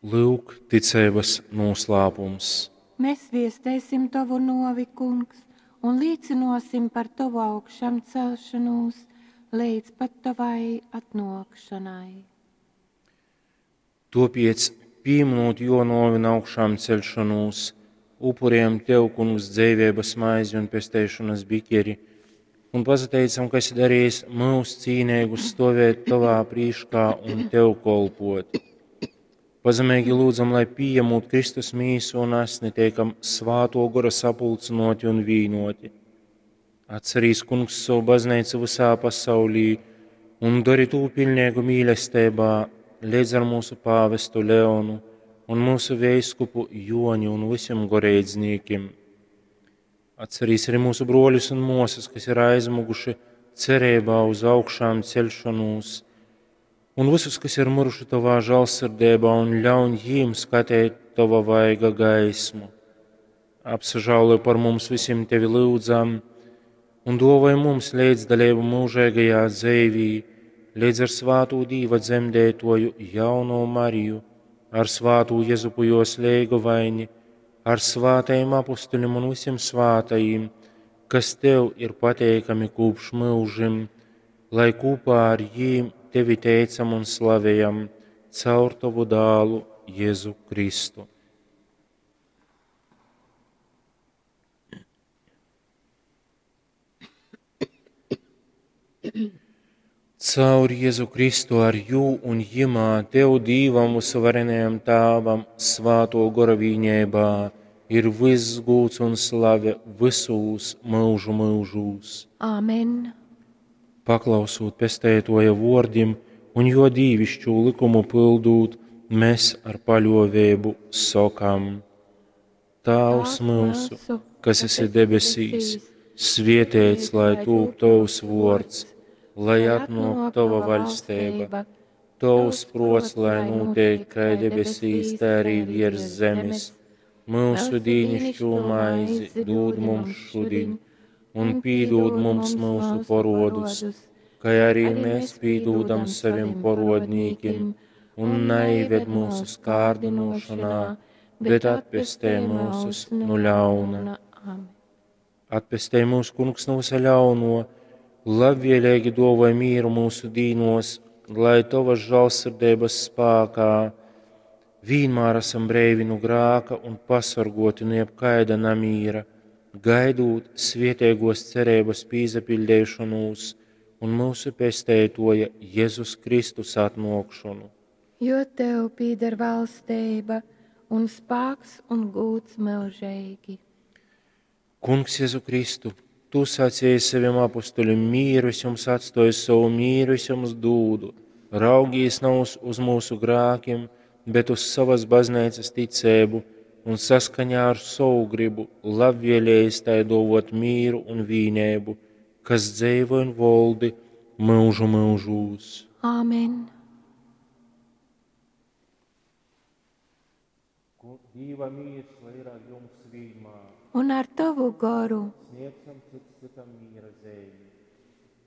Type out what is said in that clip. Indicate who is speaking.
Speaker 1: Lyuk, ticeibas nūslāpums.
Speaker 2: Mēs viestēsim tovu nuovi, Kungs, un līcynuosim par tovu augšamcelšonūs leidz pat tovai atnuokšonai.
Speaker 1: Tuopiec, pīminūt juo nuovi un augšāmceļšonūs, upurējam Tev, Kungs, dzeiveibas maizi un pesteišonas biķeri, un pasateicam, ka esi darījis mūs cīneigus stovēt Tovā prīškā un Tev kolpot. Pazemeigi lūdzam, lai pījemūt Kristus mīsu un asni, teikam svāto gora sapulcynoti un vīnoti. Atcerīs, Kungs, savu baznīcu visā pasaulī un dari tū pilnīgu mīlestībā, līdz ar mūsu pāvestu Leonu un mūsu veiskupu Joni un visiem goreidznīkim. Atcerīs arī mūsu broļus un mosas, kas ir aizmuguši cerībā uz augšām celšanos, un visus, kas ir miruši tavā žēlsirdībā, un ļauj jiem skatīt tava vaiga gaismu. Apsažālo par mums visiem tevi lūdzam, un dāvāj mums līdzdalību mūžīgajā dzīvī, līdz ar svāto Dīva dzemdētoju jauno Mariju, ar svāto Jezupu jos leigovaini, ar svātajiem apustuļiem un visiem svātajiem, kas tev ir pateikami kopš mūžim, lai kopā ar jīm tevi teicam un slavējam caur tavu dālu Jēzu Kristu. Caur Jēzu Kristu ar jū un jimā Tev Dīvam visvarenajam Tāvam svāto gora vīņēbā ir viss gūts un slave visūs mūžu mūžūs.
Speaker 2: Āmen.
Speaker 1: Paklausūt pestētoja vordim un jo dīvišķu likumu pildūt, mēs ar paļovēbu sokam. Tāvs mūsu, kas esi debesīs, svietēts, lai tūp tavs vords, lai atnāk tava vaļstība, tavs prots, lai notiek kā debesīs, tā arī virs zemes. Mūsu dīnišķo maizi dod mums šodien, un pīdod mums mūsu porodus, kā arī mēs pīdūdam saviem porodnīkim, un neived mūsu skārdinošanā, bet atpestē mūsus no ļauna. Atpestē mūsu kungs no visa ļauno, labvēlīgi dāvāj mieru mūsu dīnos, lai tavas žēlsirdības spēkā vienmēr esam breivi no grāka un pasargoti no jebkaida namīra, gaidot svietēgos cerības pīzapildēšanos un mūsu pestētoja Jēzus Kristus atnākšanu.
Speaker 2: Jo tev pīder valstība un spāks un gūts mūžīgi.
Speaker 1: Kungs Jēzu Kristu, tu sacīji saviem apustuļiem, mieru es jums atstoju, savu mieru es jums dūdu. Raugīs nav uz, uz mūsu grākiem, bet uz savas baznīcas ticību un saskaņā ar savu gribu labvēlējis tai dovot mieru un vīnēbu, kas dzīvo un voldi mūžu mūžūs.
Speaker 2: Āmen.
Speaker 1: Dīva mīrs, lai ir ar jums vienmēr.
Speaker 2: Un ar tavu goru.
Speaker 1: Sniedzam cits citam miera zīmi.